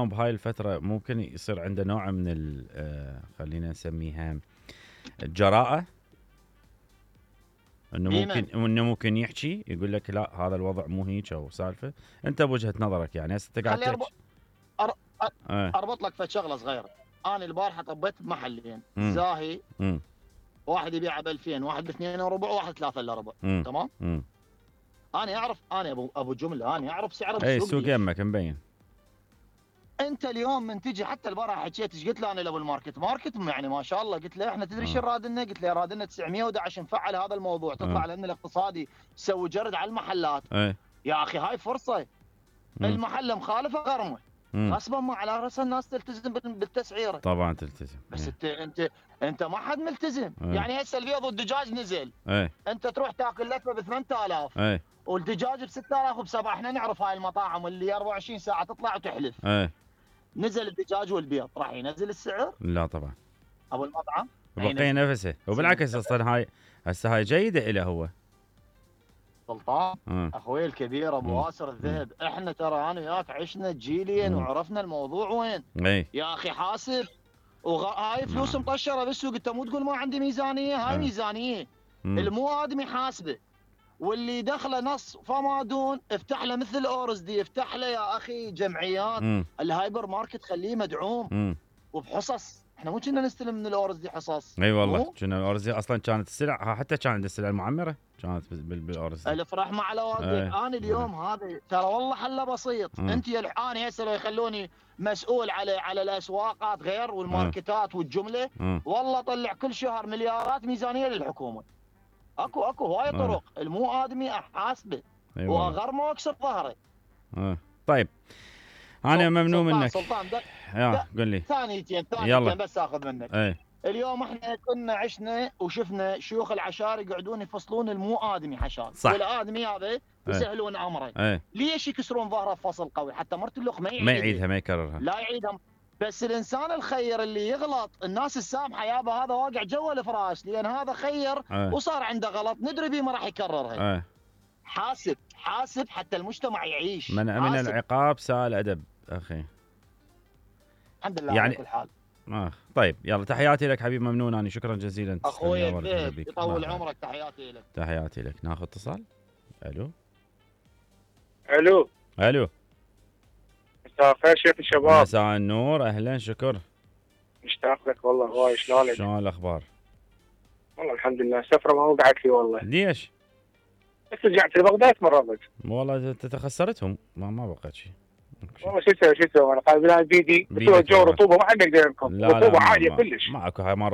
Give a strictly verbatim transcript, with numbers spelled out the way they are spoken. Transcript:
بهاي الفترة ممكن يصير عنده نوع من ال آه خلينا نسميها الجراءة، انه ممكن انه ممكن يحكي يقول لك لا هذا الوضع مو هيك او سالفة. انت بوجهة نظرك يعني هسه انت قاعد خلي تحكي. أر... أر... اه. اربط لك في شغله صغيره. انا البارحه طبيت بمحلين مم. زاهي، مم. واحد يبيعه ب ألفين، واحد ب اثنين وربع، وواحد ثلاثة الا ربع. مم. تمام. مم. انا اعرف، انا ابو ابو جمله، انا اعرف سعره اي بالسوق. السوق يمك مبين. انت اليوم من تجي، حتى البارحه حكيت ايش قلت له انا لابو الماركت ماركت يعني ما شاء الله، قلت له احنا تدري شو آه. راد لنا؟ قلت له راد لنا تسعمية وأحد عشر نفعل هذا الموضوع، تطلع آه. لنا الاقتصادي تسوي جرد على المحلات. اي. يا اخي هاي فرصه. مم. المحل مخالفه غرمه، مم. غصبا ما على راس الناس تلتزم بالتسعيره. طبعا تلتزم. بس ايه. انت انت انت ما حد ملتزم. ايه. يعني هسه البيض والدجاج نزل، ايه. انت تروح تاكل لفه ب ثمانية آلاف ايه. والدجاج ب ستة آلاف وبسبعة. احنا نعرف هاي المطاعم اللي أربعة وعشرين ساعه تطلع وتحلف. ايه. نزل الدجاج والبيض راح ينزل السعر؟ لا طبعا. ابو المطعم بقي نفسه، وبالعكس اصلا هاي هسه هاي جيده له هو. سلطان اه. اخوي الكبير ابو مم. واسر الذهب، احنا ترى انا وياك عشنا جيلين مم. وعرفنا الموضوع وين. اي. يا اخي حاسب، وغ... هاي فلوس نعم. مطشره بالسوق، انت مو تقول ما عندي ميزانيه. هاي آه. ميزانيه. مم. المو ادمي حاسبه، واللي دخله نص فما دون افتح له مثل اورز دي، افتح له يا اخي جمعيات. مم. الهايبر ماركت خليه مدعوم. مم. وبحصص، احنا مو كنا نستلم من الاورز دي حصص. اي والله مو؟ كنا الارز اصلا كانت السلع، حتى كان عند السلع المعمره كانت بالارز. الافراح مع الواقع. ايه. انا اليوم ايه. هذا ترى والله حله بسيط. مم. انت انا هسه لو يخلوني مسؤول على على الاسواقات غير والماركتات والجمله، مم. والله طلع كل شهر مليارات ميزانيه للحكومه. اكو اكو هواي طرق. اه. المو ادمي احاسبه اي والله. واغرمه واكسر ظهره. اه. طيب انا ممنون سلطان منك. سلطان ده يا قل لي ثانيتين يلا. ثانيتين بس اخذ منك. ايه. اليوم احنا كنا عشنا وشفنا شيوخ العشائر يقعدون يفصلون المو ادمي حشان، صح. والادمي هذا يسهلون امره. ايه. ليش يكسرون ظهره بفصل قوي حتى مرت اللخ ما يعيدها؟ ما يعيدها ما يكررها. لا يعيدها. بس الانسان الخير اللي يغلط الناس السامحه يابا، هذا واقع جوا الفراش، لان هذا خير ايه. وصار عنده غلط ندري بيه ما راح يكررها. ايه. حاسب حاسب حتى المجتمع يعيش. من من العقاب ساء الادب اخي. الحمد لله يعني على كل حال. آه. طيب يلا تحياتي لك حبيب ممنون، أنا شكرا جزيلا. اخوي الذهب يطول عمرك، تحياتي لك. تحياتي لك. ناخذ اتصال. الو الو الو. مساء الخير شيخ الشباب. مساء النور، اهلا شكر. مشتاق لك والله هواي، شلونك؟ شلون الاخبار؟ والله الحمد لله. السفره ما وقعت لي والله. ليش؟ بس رجعت لبغداد مرضت. والله تخسرتهم ما ما بقت شيء. والله شو اسوي شو اسوي انا قاعد بيدي بس الجو رطوبه ما حد يقدر يركض، رطوبه عاليه كلش. ماكو هاي ما